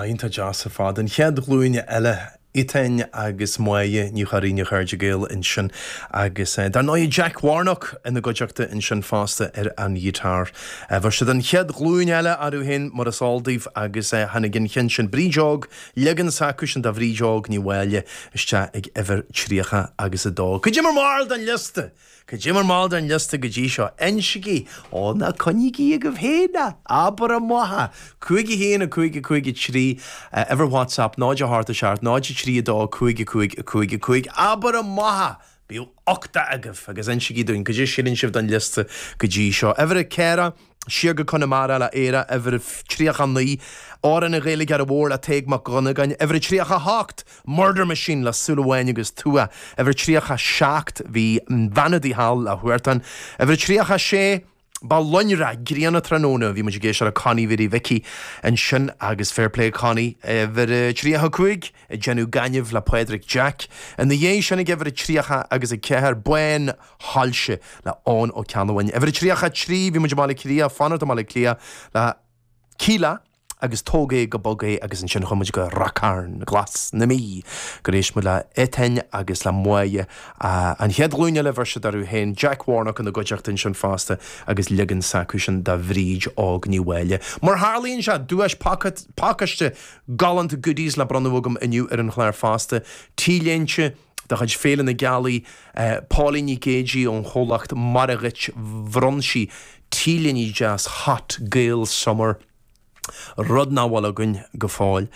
Iontach deas ar fad. An chéad ghlúin eile, Étáin agus Máire Ní Churraoin, a chairde Gael ansin agus dar ndóigh Jack Warnock ina gcuideachta ansin fosta ar an ghiotár. Bheir siad an chéad ghlúin eile orthu féin mar is eol daoibh agus tháinig an cheann sin, Bríd Óg, leagan s'acusan de Bhríd Óg Ní Mháille isteach ag uimhir 30 agus 2. Cad é bhur mbarúil den liosta! Cad é bhur mbarúil den liosta go dtí seo? Insigí! Ó, ná coinnígí agaibh féin é! Abair amach é! 5 1 5 5 3, uimhir WhatsApp 0 8 7 0 3 2 5 5 5 5. Abair amach é! Bíodh uchtach agaibh agus insigí dúinn cad é síleann sibh den liosta go dtí seo. Uimhir 4. Siar go Conamara le Éire, uimhir 39, Amhrán an Ghaeilgeora Mhóir le Tadhg Mac Dhonnagáin, uimhir 38, Murder Machine le Súil Amháin agus Tua, uimhir 37, bhí Bean Udaí Thall le Huartan, uimhir 36, Ba lonradh grian tráthnóna, bhí muid ag éisteacht le Connie Mhary Mhicí ansin agus fair play Connie, uimhir 35, Ag Déanamh Gainimh le Pádraig Jack. Ina dhiaidh sin ag uimhir 30 agus 4, Bán Shoilse le Eoin Ó Ceannabháin. Uimhir 33, bhí muid i mBaile Átha Cliath, fanacht i mBaile Átha Cliath le Kíla agus Tóg é go Bog é agus ansin chuaigh muid go Ráth Cairn Glas na Mí gur éist muid le Étáin agus le Máire an chéad ghlúin eile bheir siad orthu féin, Jack Warnock ina gcuideachta ansin fosta agus leagan s'acusan de Bhríd Óg Ní Mháille. Mar tharlaíonn sé, duais pacáiste galánta goodies le bronnadh agam inniu ar an chlár fosta, T-léinte de chuid Féile na Gealaí, Pauline Nic Géidigh ón chomhlacht Maire Dhuit, bhronn sí T-léine deas Hot Gael Summer, rud nach bhfuil againn go fóill.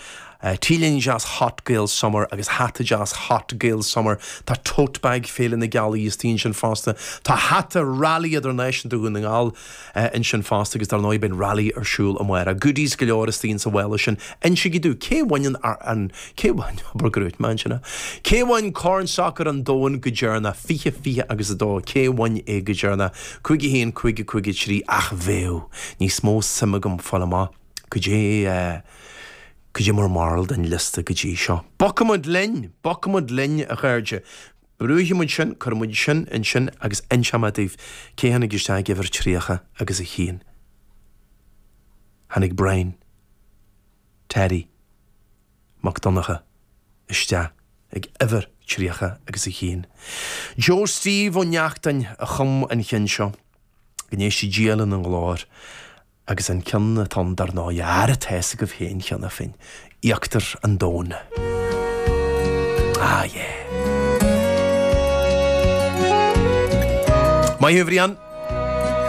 T-léine deas Hot Gael Summer agus hata deas Hot Gael Summer. Tá tote bag Féile na Gealaí istigh ansin fosta. Tá hata Rally Idirnáisiúnta Dhún na nGall ansin fosta agus dar ndóigh beidh an Rally ar siúl amárach. Goodies go leor istigh insa mhála sin. Insigí domh, cé bhain an, an, cé bhain, abair go raibh mé ansin, cé bhain Corn Sacair an Domhain go deireanach, 20, 20 agus 2, cé bhain é go deireanach, 5 1, 5 5 3, ach bheadh níos mó suim agam fáil amach cad é, cad é bhur mbarúil den liosta go dtí seo. Bogfaidh muid linn, bogfaidh muid linn a chairde. Brúfaidh muid sin, cuirfidh muid sin ansin agus inseoidh mé daoibh cé tháinig isteach ag uimhir 30 agus a haon. Tháinig Brian Terry Mac Donncha isteach ag uimhir 30 agus a haon. Joe Steve Ó Neachtain a chum an cheann seo. Go n-éistí Dia lena nglór. Agus an ceann atá ann dar ndóigh, ara tá fhios agaibh féin cheana féin, Íochtar an Domhain. Ah yeah. Maith thú a Bhriain.